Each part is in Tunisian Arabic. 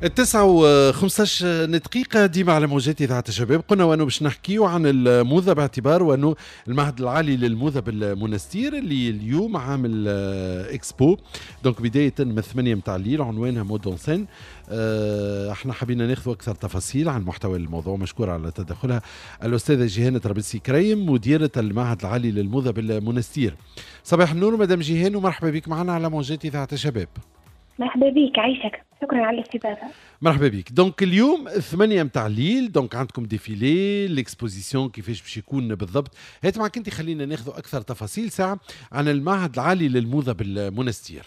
9:15 ديما على موجات إذاعة الشباب. قلنا وأنه باش نحكيو عن الموضة باعتبار وأنه المعهد العالي للموضة بالمونستير اللي اليوم عامل expo، donc بداية من 8 متاع الليل، عنوانها mode en scène. احنا حبينا ناخذ أكثر تفاصيل عن محتوى الموضوع. مشكورة على تدخلها الأستاذة جيهان طرابلسي كريم، مديرة المعهد العالي للموضة بالمونستير. صباح النور مدام جيهان ومرحبا بك معنا على موجات إذاعة الشباب. مرحبا بك، عايشك، شكرا على الاستضافه. مرحبا بك. donc اليوم 8 متاع الليل donc عندكم défilé، l'exposition كيفاش باش يكون بالضبط؟ هات معك انت، خلينا ناخذ اكثر تفاصيل ساعة عن المعهد العالي للموضه بالمونستير.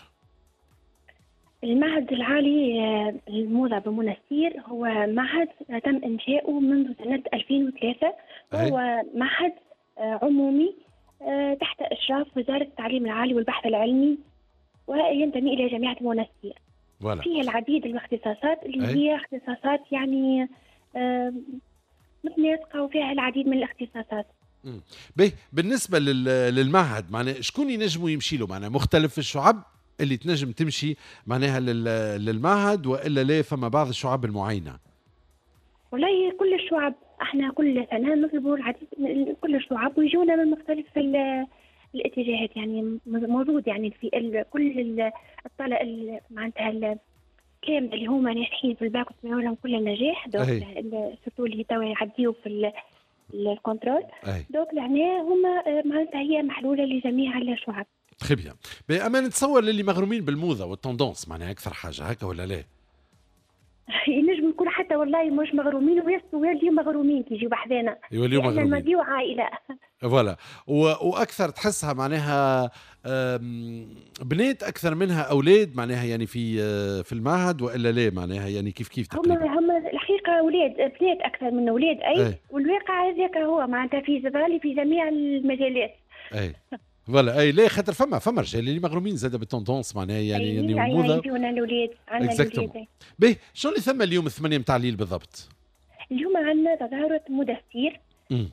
المعهد العالي للموضة بمونستير هو معهد تم إنشاؤه منذ سنة 2003، وهو معهد عمومي تحت إشراف وزارة التعليم العالي والبحث العلمي، وينتمي إلى جامعة المونستير. فيه العديد من الاختصاصات اللي هي اختصاصات يعني متناسقة وفيها العديد من الاختصاصات. باهي، بالنسبة للمعهد معناها شكون ينجموا يمشي له؟ معناها مختلف الشعب اللي تنجم تمشي معناها للمعهد والا لا فما بعض الشعب المعينة؟ والله كل الشعب، احنا كل سنة نطلبوا العديد من كل الشعب ويجونا من مختلف الاتجاهات، يعني موجود يعني في كل الطلبة معناتها الكامل اللي هما ناجحين في الباك ونتمنى لهم كل النجاح، donc surtout اللي توا يعديو في ال contrôle. Donc لهنا هما معناتها هي محلولة لجميع الشعب. très bien. اما نتصور للي مغرومين بالموضه وال tendances معناها اكثر حاجه، هكا ولا لا؟ ينجم يكون حتى والله مش مغرومين ويوليو مغرومين كي يجيو بحذانا. يوليو لأن مغرومين. نوليو عائله. voilà، واكثر تحسها معناها بنات اكثر منها اولاد معناها يعني في المعهد والا لا معناها يعني كيف كيف تقريبا؟ هم الحقيقة اولاد، بنات اكثر من اولاد، اي. والواقع هذاك هو معناتها في زبالي في جميع المجالات. اي voilà، اي لا خاطر فما رجال اللي مغرومين زاد بال tendances معناها يعني يعني والموضه. يجونا الاولاد، عندنا الاولاد. باهي، شنو اللي ثم اليوم 8 متاع الليل بالضبط؟ اليوم عندنا تظاهرة مودستير.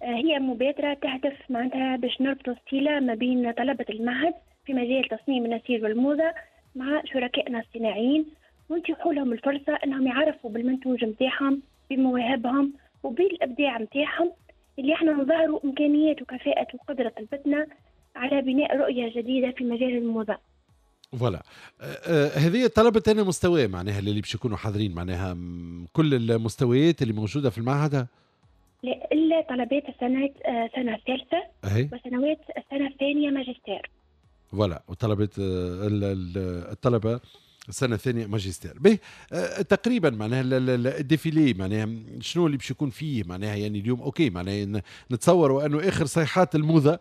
هي مبادرة تهدف معناتها باش نربطوا الصلة ما بين طلبة المعهد في مجال تصميم النسيج والموضة مع شركائنا الصناعيين، ونتيحوا لهم الفرصة انهم يعرفوا بالمنتوج نتاعهم، بمواهبهم وبالابداع نتاعهم، اللي احنا نظهروا امكانيات وكفاءة وقدرة طلبتنا على بناء رؤية جديدة في مجال الموضة. voilà، هذه طلبة انا مستوى معناها اللي باش يكونوا حاضرين معناها كل المستويات اللي موجودة في المعهد؟ لا، الا طلبات السنة السنة الثالثة وسنوات السنة الثانية ماجستير. voilà، وطلبة الطلبة السنة الثانية ماجستير. به تقريبا معناها ال défilé معناها شنو اللي باش يكون فيه معناها يعني اليوم؟ OK، معناها نتصوروا انه اخر صيحات الموضة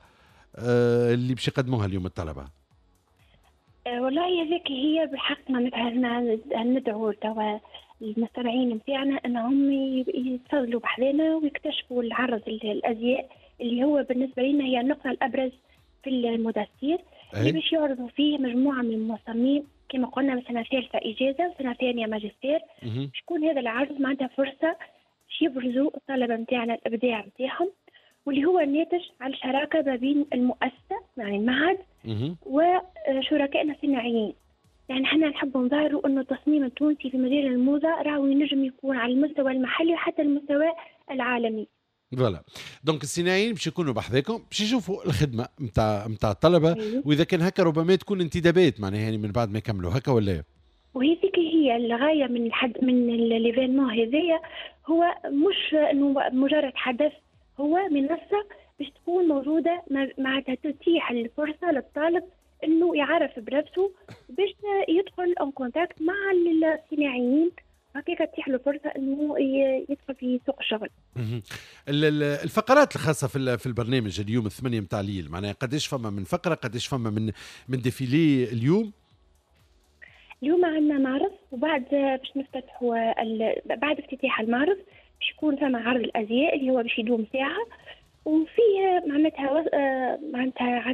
اللي باش يقدموها اليوم الطلبة. والله هذيك هي بالحق معناتها ندعو توا المستمعين نتاعنا انهم يتفضلوا بحذانا ويكتشفوا العرض الازياء اللي هو بالنسبة لنا هي النقطة الابرز في المودستير، اللي باش يعرضوا فيه مجموعة من المصممين كما قلنا من سنة ثالثة اجازه وسنة ثانية ماجستير. شكون هذا العرض معناتها فرصة باش يبرزوا الطلبة نتاعنا الابداع نتاعهم، واللي هو الناتج على الشراكة ما بين المؤسسة يعني المعهد وشركائنا الصناعيين. يعني احنا نحب نظهروا انه التصميم التونسي في مجال الموضة راهو ينجم يكون على المستوى المحلي وحتى المستوى العالمي. voilà، donc الصناعيين باش يكونوا بحذاكم باش يشوفوا الخدمة نتاع الطلبه. واذا كان هكا ربما تكون انتدابات معناها يعني من بعد ما يكملوا، هكا ولا؟ وهذيك هي الغاية من الحد من l'événement هذايا، هو مش انه مجرد حدث، هو منصة باش تكون موجودة معناتها تتيح الفرصة للطالب انه يعرف بنفسه باش يدخل en contact مع الصناعيين، هكاك تتيح له فرصة انه يدخل في سوق الشغل. الفقرات الخاصة في البرنامج اليوم 8 متاع الليل، معناها قداش فما من فقره، قداش فما من défilé اليوم؟ اليوم عندنا معرض، وبعد باش نفتتحوا بعد افتتاح المعرض باش يكون ثم عرض الازياء اللي هو باش يدوم ساعه، وفيه معناتها عندنا